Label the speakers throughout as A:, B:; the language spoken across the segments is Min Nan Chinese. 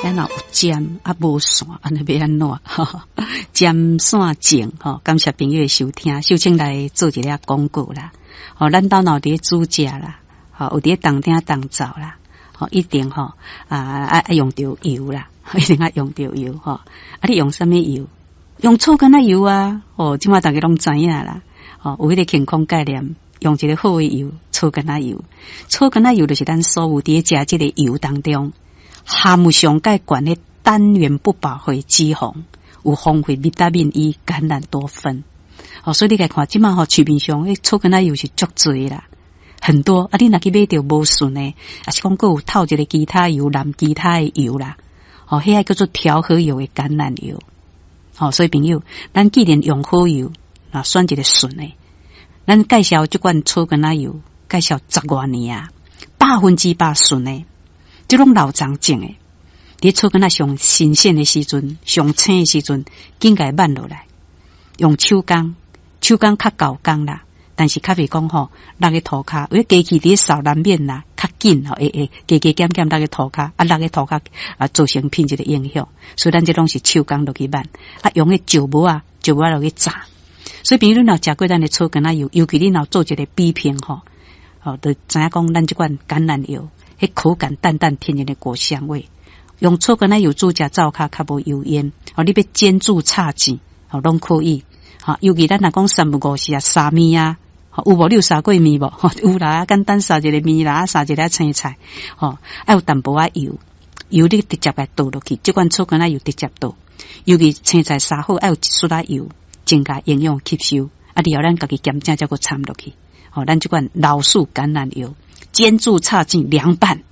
A: 咱若有尖啊無線，按呢欲按怎？尖線症吼，感謝朋友的收聽，首先來做一个廣告啦。吼，咱兜若有佇咧煮食啦，吼，有佇咧動廳動灶啦，吼，一定吼啊愛用著油啦，一定愛用著油吼。啊，你用啥物油？用草柑仔油啊！哦，這馬逐家攏知影啦。吼，有彼個健康概念，用一个好的油，草柑仔油。草柑仔油就是咱所有佇咧食這个油當中，含有上蓋懸的單元不飽和脂肪，有豐富維他命 E、橄欖多酚。哦，所以你來看，這馬吼市面上彼草柑仔油是足濟啦，很多。啊，你若去買著無純的，抑是講閣有透一个其他油、淋其他的油啦。哦，彼个叫做調和油的橄欖油。哦，所以朋友，咱既然用好油，啊，選一个純的。咱介紹這罐草柑仔油，介紹十外年啊，100%純的，這攏老欉種的。佇草柑仔上新鮮的時陣，上青的時陣，緊共挽落來，用手工，手工較厚工啦，但是較袂講吼，落去塗跤，有機器佇咧掃難免啦，較緊吼，會會加加減減落去塗跤，啊，落去塗跤啊，造成品質的影響。所以咱這攏是手工落去挽，啊，用彼石磨仔，石磨仔落去齧。所以，朋友你若食過咱的草柑仔油，尤其你若做一个比拼吼，吼，就知影講咱這款橄欖油，彼口感淡淡天然的果香味。用草柑仔油煮食灶跤較無油煙，哦，你欲煎煮炒煎，吼，攏可以。吼，尤其咱若講三不五時啊，捎麵啊，有無？你有捎過麵無？有啦，簡單捎一个麵啦，捎一个青菜，吼，愛有淡薄仔油，油你直接共倒落去，這款草柑仔油直接倒。尤其青菜捎好，愛有一絲仔油，增加營養吸收。啊，然後咱家己鹹醬才閣摻落去。吼，咱這款老樹橄欖油，煎煮炒煎涼拌。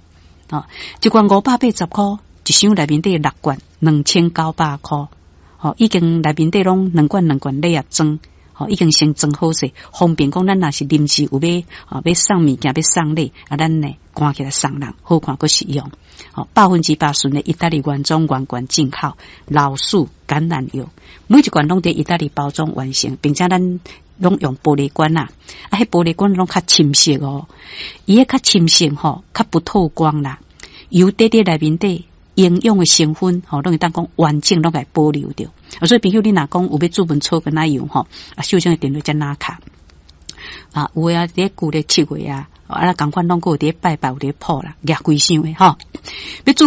A: 吼，這罐580箍，一箱內面底六罐，2900箍。吼，已經內面底攏兩罐兩罐禮盒裝，吼，已經先裝好勢，方便講咱若是臨時有欲，吼，欲送物件，欲送禮，啊，咱呢關起來送人，好看閣實用。吼，100%純的意大利原裝原罐進口老樹橄欖油，每一罐攏佇意大利包裝完成，並且咱攏用玻璃罐啊，啊，彼玻璃罐攏較深色哦，伊彼較深色吼，較不透光啦，油底底內面底營養的成分吼，攏會當講完整攏共保留著。所以朋友你若講有欲煮燜草柑仔油吼，啊，首先電話才拿卡啊，有的啊，佇咧舊曆七月啊，啊，仝款攏閣有佇咧拜拜，有佇咧鋪啦，舉規箱的吼，欲煮。